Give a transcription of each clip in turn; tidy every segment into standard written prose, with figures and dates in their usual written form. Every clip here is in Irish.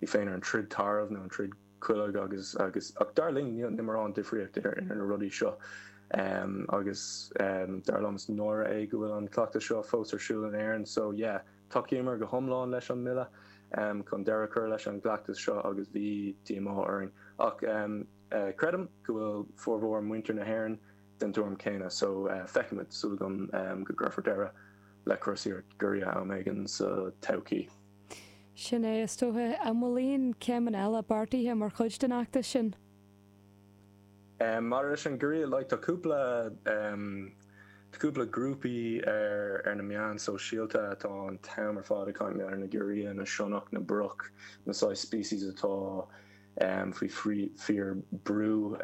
í féin ar an troid tarbh nó an troid coileog agus agus ach dar linn níl níl mórán difríocht idir idir na rudaí seo agus dar liom is náire é go bhfuil an cleachtas seo fós ar siúl in Éirinn so yeah tacaíomar go hiomlán leis an mbille chun deireadh a chur leis an gcleachtas seo agus bhí díomá orainn ach creidim go bhfuil formhór muintir na hÉireann den tuairim céanna so feicfimid, súil agam go gcuirfear deireadh le cúrsaíocht giorria am éigin sa todhchaí. Sin é, is dócha. An bhfuil aon chéimeanna eile beartaithe mar chuid den fheachtas sin? Maidir leis an giorria, like, tá cúpla, tá cúpla grúpaí ar ar na meáin sóisialta atá an t-am ar fad ag caint ar na giorria, na sionnach, na broc, na saghas species atá faoi fíor brú.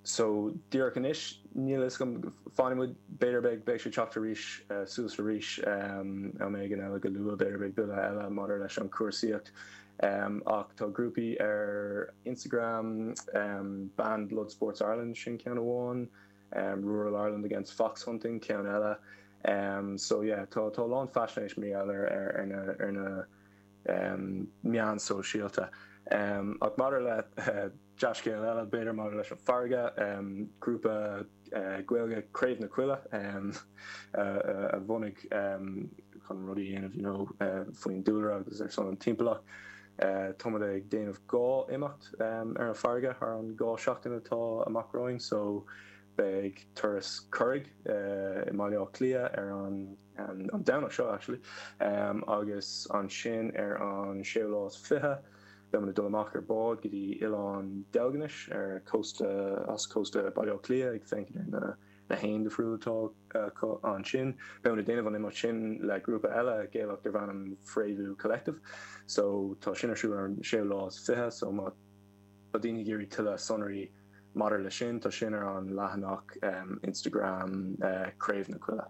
So, díreach anois, níl a fhios agam, fanfaidh muid, b'fhéidir beidh, beidh sé ag teacht arís, suas arís am éigin eile go luath, b'fhéidir beidh bille eile maidir leis an chúrsaíocht. Ach tá grúpaí ar Instagram, Ban Blood Sports Ireland, sin ceann amháin, Rural Ireland Against Fox Hunting, ceann eile. So yeah, tá, tá a lán faisnéis mar gheall ar, ar, ar na, ar na meáin sóisialta. Ach maidir le dea-scéal eile, b'fhéidir maidir leis an bhfarraige, grúpa Gaeilge Craobh na Coille a bhunaigh chun rudaí a dhéanamh you know faoin dúlra agus ar son an timpeallacht. Táimid ag déanamh 2 imeacht ar an bhfarraige thar an 2 seachtain atá amach romhainn so beidh turas curraigh i mBaile Átha Cliath ar an an Domhnach seo actually agus ansin ar an séú lá is 20 beidh muid ag dul amach ar bád go dtí Oileán Deilginis ar cósta, as cósta Baile Átha Cliath ag féachaint ar na na héin difriúla atá acu ansin. Beidh muid ag déanamh an imeacht sin le grúpa eile Gaelach darb ainm Fréamhú Collective so tá sin ar siúl ar an séú lá is 20 so má tá daoine ag iarraidh tuilleadh sonraí maidir le sin tá sin ar an leathanach Instagram Craobh na Coille.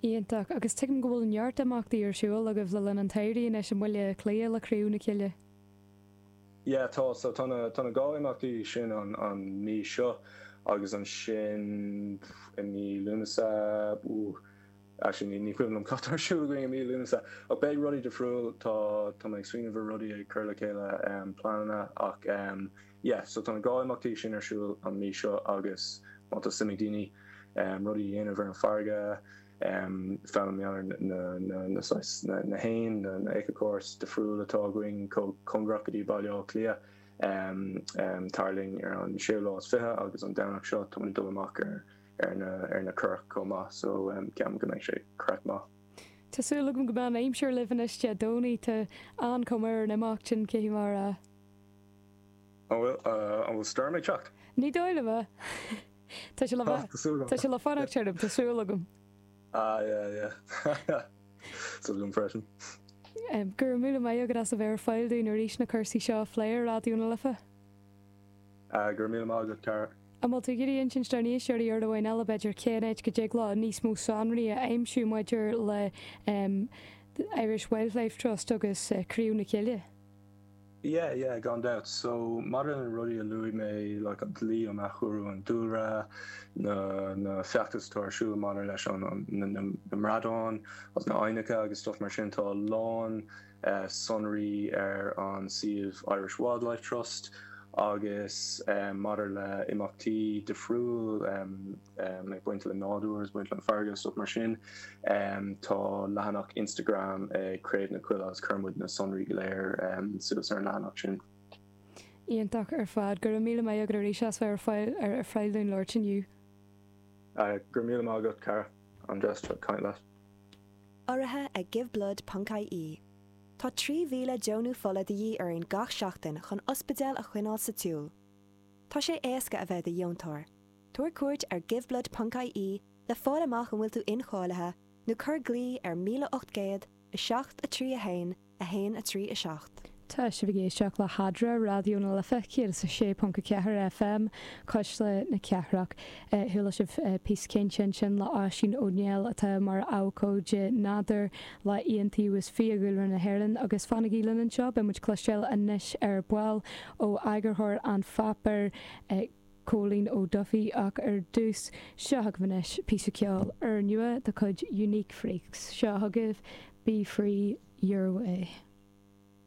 Iontach. Agus tuigim go bhfuil neart imeachtaí ar siúl agaibh le linn an tsamhraidh anois i mBaile Átha Cliath le Craobh na Cille. Yeah, tá. So tá na, tá na 2 imeachtaí sin an, an mí seo agus ansin i mí Lúnasa, ooh, actually ní, ní cuimhin liom cad tá ar siúl againn i mí Lúnasa. Ach beidh rudaí difriúil, tá, tá mé ag smaoineamh ar rudaí, ag cur le chéile pleananna ach yeah, so tá na 2 imeachtaí sin ar siúl an mí seo agus má tá suim ag daoine, rudaí a dhéanamh ar an bhfarraige, foghlaim mar gheall ar na saghas, na héin, na éiceachórais difriúil atá againn chomh cóngarach go dtí Baile Átha Cliath. Tar linn ar an séú lá is 20 agus an Domhnach seo tá muid ag dul amach ar ar na currach chomh maith so ceapaim go mbeidh sé craic maith. Tá súil agam go mbeidh an aimsir libh anois Dé Domhnaigh, tá an-chuma ar an imeacht sin, caithfidh mé a rá. An bhfuil, an bhfuil stoirm ag teacht? Ní dóigh liom é. Tá sé le bheith, tá sé le fanacht tirim, tá súil agam. Ah, yeah, yeah. Súil agam freisin. Go raibh míle maith agat as a bheith ar fáil dúinn arís na cúrsaí seo a phlé ar Raidió na Life. Go raibh míle maith agat, Cara. An bhfuil tú ag iarraidh insint dár n-éisteoirí uair amháin eile, b'fhéidir, cén áit go dtig leo níos mó sonraí a aimsiú maidir le Irish Wildlife Trust agus Craobh na Cille? Yeah, yeah, gan dabht. So, maidir le na rudaí a luaigh mé, like an dlí um athchóiriú an dúlra, na, na feachtais atá ar siúl maidir leis an, an, na, na, na bradáin agus na aibhneacha agus stuff mar sin, tá a lán eh, sonraí ar an suíomh Irish Wildlife Trust agus eh, maidir le imeachtaí difriúil em, ag baint le nádúr agus baint le an farraige agus stuff mar sin. Tá leathanach Instagram ag Craobh na Coille agus cuireann muid na sonraí go léir suas ar an leathanach sin. Iontach ar fad. Go raibh míle maith agat arís as bheith ar fáil ar fáil dúinn labhairt inniu. Go raibh míle maith agat, Cara. An-deas caint leat. Urraithe ag Giveblood ponc ie. Tá 3,000 deonú fola de dhíth orainn gach seachtain chun ospidéil a choinneáil sa tsiúl. Tá sé éasca a bheith i do dheontóir. Tabhair cuairt ar giveblood ponc ie le fáil amach an bhfuil tú incháilithe nó cuir glao ar 1800 7 3 1 1 3 7. Tá sibh ag éisteacht le hEadra, Raidió na Life 106.4 FM, Cuisle na Cathrach. Chuala sibh píosa cainte ansin le Oisín Ó Néill atá mar abhcóide nádúir le Iontaobhas Fiadhúlra na hÉireann agus fanaigí linn anseo, beidh muid cloisteáil anois ar ball ó eagarthóir An Pháipéir, Cóilín Ó Dufaigh ach ar dtús, seo chugaibh anois píosa ceoil úrnua de chuid Unique Freaks. Seo chugaibh Be Free Your Way.